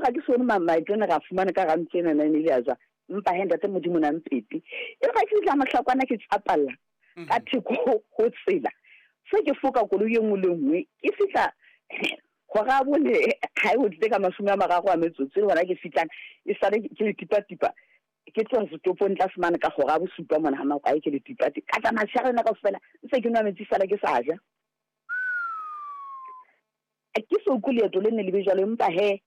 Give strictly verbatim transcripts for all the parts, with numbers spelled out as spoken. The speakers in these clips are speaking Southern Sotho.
ga ke sone mamaetlo ne ra fumana ka rantlo ena nine ile ya tswa mpa he ntate modimo na mpete e re ga ke fihla mohlakwana ke tsapalla ka theko ho tsela se ke foka koloi e nngwe le nngwe ke fihla gora bone ga e o tlile ka mashome a mararo a metsotso le gona ke fihlang e sale ke le tipa-tipa ke tloga setopong tlase mane ka gora bosupa mona ga makwae ke le tipati ka tsamaya tshegare yona kaofela ntse ke nwa metsi fela ke sa ja ke so kwe leeto le nne le be jwalo empa he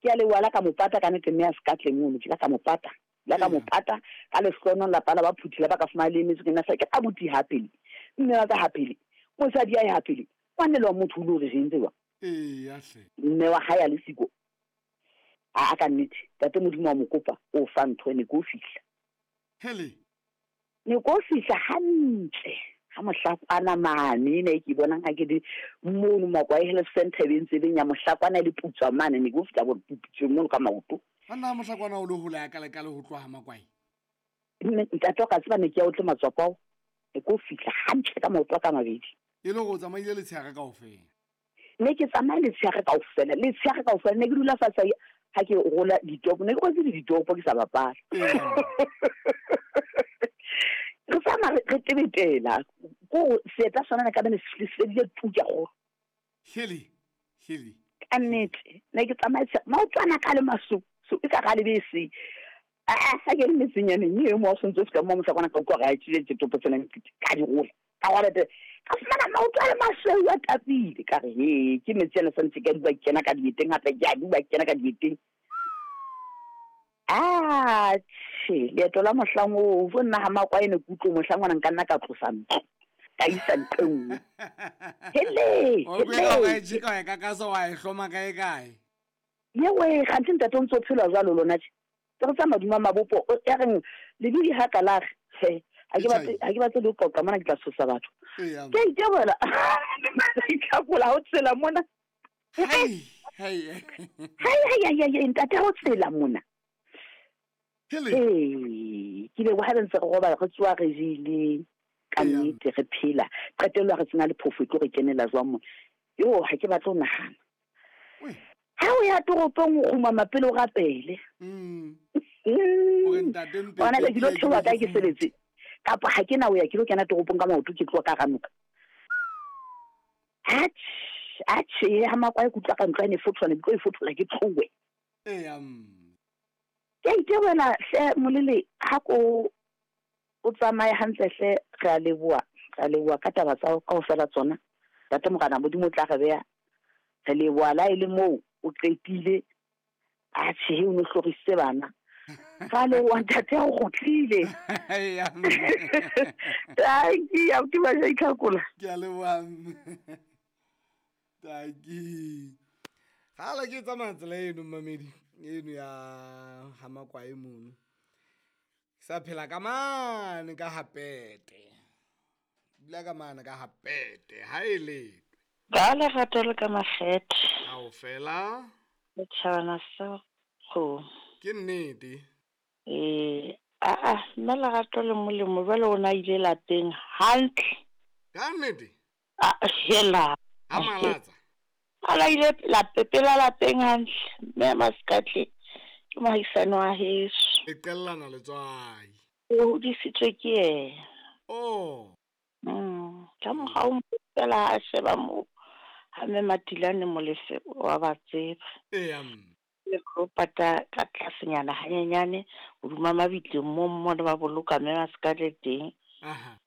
ke a lewala ka mopata ka nnete mme a se ka tle mono ke la ka mopata la ka mopata ka lehlono lapa la ba phuthile ba ka fumana le emetse ke nna ke abuti ha pele mme wa ka ha pele mosadi ya ha pele ngwane le wa motho o le hore re entse jwang eya hle mme wa hae a le siko a ka nnete tate modimo wa mo kopa o fa ntho ne ko fihla hele ne ko fihla hantle ha mohlakwana mane ne ke bonang ha ke di mono Makwae Health Center e ntse beng ya mohlakwana le putswa mane ne ko fihla bo putswe mono ka maoto ana mohlakwana o le hola ya kale kale ho tloha Makwae ntate o ka tseba ne ke ya o tle matswapao ne ko fihla hantle ka maoto a ka mabedi e le go tsamaile letshehare kaofela ne ke tsamaye letshehare kaofela letshehare kaofela ne ke dula fatshe ha ke rola ditopo ne ke rotse le ditopo ke sa bapala re tsamaya re tebetela ko seeta sona ne ka bene se fedile tuka go hele hele ka nnete ne ke tsamaye maotwana ka le maso so e ka ga le bese a ha ke le metsenyaneng e mo o sentse se ka mo mohlakwana ka kwa ga tšile ditopo tsena ka di rola ka gore ka fumana maoto a le masweu a tapile ka re he ke metsi ana santse ke a duba kena ka dieteng hape ke a duba kena ka dieteng atjhe leeto la mohlang oo fo nna ha Makwae ne ke utlwe mohlang ona nka nna ka tlosa ntlo ka isa ntlo e nngwe hele o kwela wa e jika wa e kakasa wa e hloma kae kae yewe kganthe ntate o ntse o phela jwalo lona tje ke re tsa maduma mabopo ya reng lebidi ha ka la he ha ke batle ha ke batle le ho qoqa mona ke tla tshosa batho ke itebola itlhakola ho tsela mona hei hei hei hei hei ntate ho tsela mona hele ee ke le wa ha ntse re robala re tsoa re jele ka nnete re phela qetello re tsena le phofo e tlo re kenela jwang mona yo ha ke batle ho nahana ha o ya toropong o kgumama pele o rapele mm o ntate mpe ona le dilo theoha kae ke sebetse kapa ha ke na o ya ke lo kena toropong ka maoto ke tloha ka ranoka atjhe atjhe ha Makwae ke utlwa ka ntlo ene fothola ne ke tlo e fothola ke tlowe eya mm ke itebola hle molele ha ko o tsamaye hantle hle re a leboha re a leboha ka taba tsa kaofela tsona ntate morena modimo o tla re beha re leboha la e le moo o qetile atjhe o no hlorisitse bana ga leboha ntate o kgutlile eya tanki abuti ba itlhakola ke a leboha tanki gala ke tsamaya tsela eno mmamedi eno ya ha Makwae mono ke sa phela ka mane ka hapete dula ka mane ka hapete ha e letwe ka lerato le ka makgethe kaofela setjhabana sa go ke nnete ee aa mme lerato le molemo jwale o na ile lapeng hantle ka nnete a hela ha malatsa ala ile lape pela lapeng hantle mme Masekatle ke mohaisane wa heso e qellana letswai o hodisitswe ke yena oh mm ka morao fela a sheba moo ha mme Matilane Molefe wa ba tseba eya le pata ka tlasenyana hanyenyane hoduma mabitleng mo mo ba boloka mme Masekatle teng aha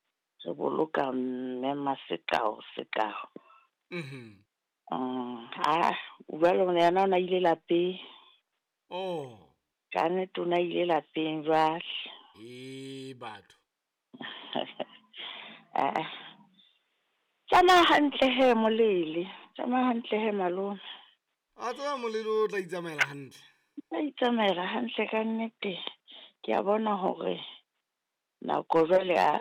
re boloka mme Masekao Sekao mhm mm ha jwale yena o na ile lapeng oh ka nnete o na ile lapeng jwale e batho ah tsamaya hantle he molele tsamaya hantle he malome a tseba molele o tla itsamaela hantle tla itsamaela hantle ka nnete ke a bona hore nako jwale a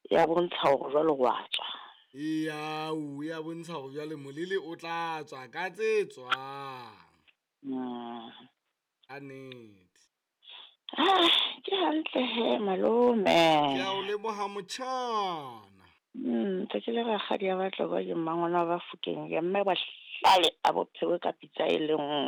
ya bontsha hore jwale wa tswa iya o ya bontsha hore jwale molele o tla tswa ka tse tswang mm ka nnete ah ke hantle he malome ke a o leboha motjhana mm ntse ke le rakgadi ya batlo ba ke mmangwana ba Fokeng ya mme ba hlale a bo phewe ka pitsa e le nngwe.